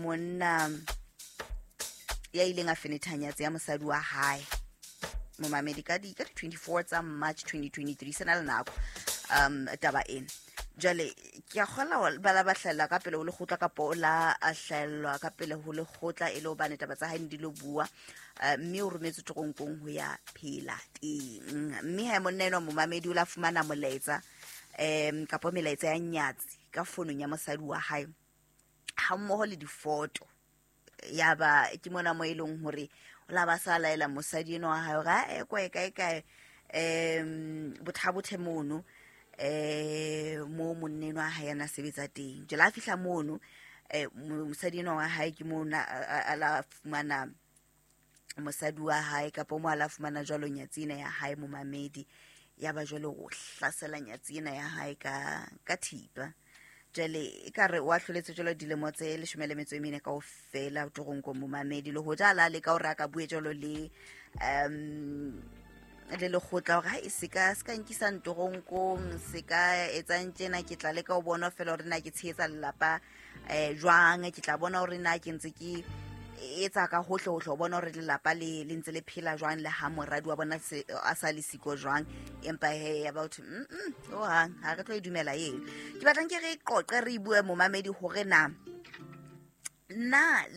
Monna ya ileng a fenetha nyatsi ya mosadi wa hae, momamedi, ka di 24 tsa March 2023. Se na le nako taba ena. Jwale ke a kgola ba la ba hlahella ka pele ho lekgotla, kapa o la a hlahellwa ka pele ho lekgotla, e le hobane taba tsa hae ne di lo bua, mme o rometswe toronkong ho ya phela teng. Mme ha monna enwa, momamedi, o la fumana molaetsa kapa melaetsa ya nyatsi ka fonong ya mosadi wa hae ha mmoho le difoto. Ya ba ke mona mo e leng hore o la ba sa laela mosadi enwa wa hae hore a e kwae kae kae bothabothe mono mo monna enwa wa hae a na sebetsa teng. Jwale a fihla mono, mosadi enwa wa hae ke mo a la fumana mosadi wa hae, kapa mo a la fumana jwalo nyatsi ena ya hae, momamedi. Ya ba jwale o hlasela nyatsi ena ya hae ka thipa. Jwale e ka re o ahloletswe jwalo dilemo tse 14 kaofela toronkong, momamedi. Le hoja a la leka hore a ka bue jwalo le lekgotla hore ha e se ka nkisang toronkong, se ka etsang tjena, ke tla leka ho bona fela hore na ke tshehetsa lelapa jwang, ke tla bona hore na ke ntse ke etsa ka hohle hohle ho bona hore lelapa le ntse le phela jwang, le ha moradi wa bona a sa le siko jwang. Empa he, ya batho hohang ha re tlo e dumela eo. Ke batlang ke re qoqe, re bue, momamedi, hore na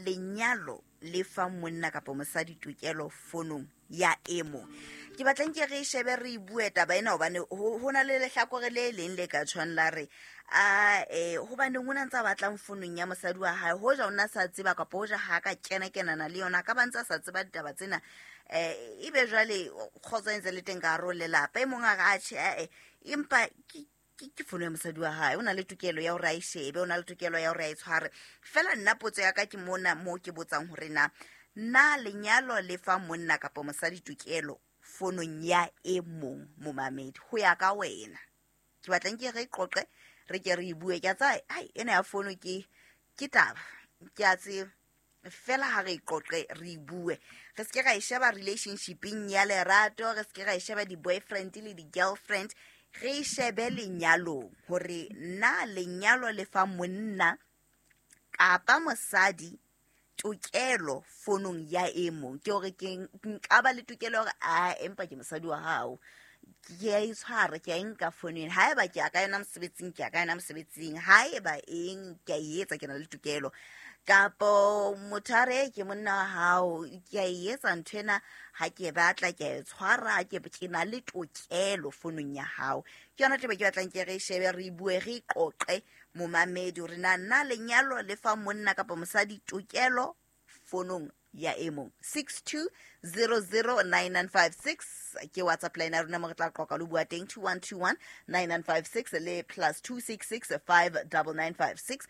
lenyalo le fa monna kapa mosadi tokelo fonong ya e mong. Ke batlang ke re shebe, re bue taba ena, hobane ho na le lehlakore le leng le ka tshwang la re a hobaneng o na ntse a batlang fonong ya mosadi wa hae, hoja o na sa tseba, kapa hoja ha ka kena kenana le yona, ka ba ntse a sa tseba ditaba tsena, ebe jwale kgotso e ntse le teng ka hare ho lelapa. E mong a re atjhe, ae, empa ke fono ya mosadi wa hae, o na le tokelo ya hore a e shebe, o na le tokelo ya hore a e tshware fela. Nna potso ya ka ke mona mo ke botsang hore na lenyalo le fa monna kapa mosadi tokelo fonong ya e mong, momamedi, ho ya ka wena? Ke batlang ke re qoqe, re ke re e bue. Ke a tsaya ai ena ya fono ke taba, ke a tseba fela. Ha re qoqe, re bue, re se ke ra e sheba relationshipeng ya lerato, re se ke ra e sheba di-boyfriend le di-girlfriend, re e shebe lenyalong, hore na lenyalo le fa monna kapa mosadi tokelo fonong ya e mong. Ke hore ke nka ba le tokelo hore a empa ke mosadi wa hao, ke a e tshwara, ke a e nka fonong, haeba ke ya ka yona mosebetsing, ke ya ka yona mosebetsing, haeba eng ke a e etsa, ke na le tokelo? Kapo motho a re ke monna wa hao, ke a e etsa ntho ena, ha ke batla ke a e tshwara, ke na le tokelo fonong ya hao? Ke yona taba ke batlang ke re shebe, re bue, re qoqe, momamedi, hore na lenyalo le fa monna kapa mosadi tokelo fonong ya e mong. 62009956 ke WhatsApp line ya rona mo re tla qoqa le bua teng, 21219956 le +266 59956.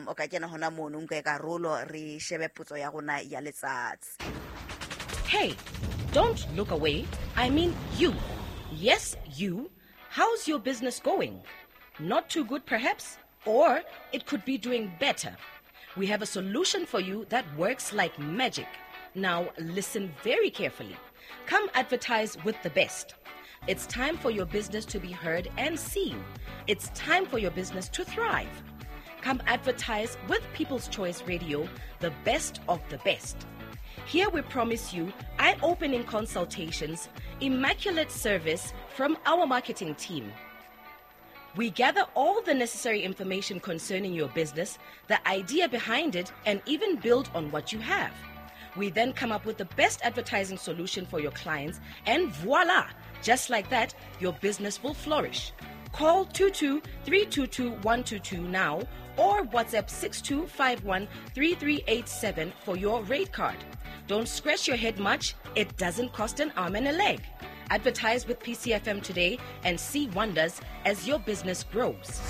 O ka kena hona mono, nka karolo, re shebe potso ya rona ya letsatsi. Hey, don't look away. I mean you. Yes, you. How's your business going? Not too good, perhaps? Or it could be doing better. We have a solution for you that works like magic. Now, listen very carefully. Come advertise with the best. It's time for your business to be heard and seen. It's time for your business to thrive. Come advertise with People's Choice Radio, the best of the best. Here we promise you eye opening consultations, immaculate service from our marketing team. We gather all the necessary information concerning your business, the idea behind it, and even build on what you have. We then come up with the best advertising solution for your clients, and voila! Just like that, your business will flourish. Call 22 322 122 now or WhatsApp 6251 3387 for your rate card. Don't scratch your head much, it doesn't cost an arm and a leg. Advertise with PCFM today and see wonders as your business grows.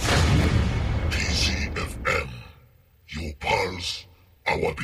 PCFM, your pulse, our beat.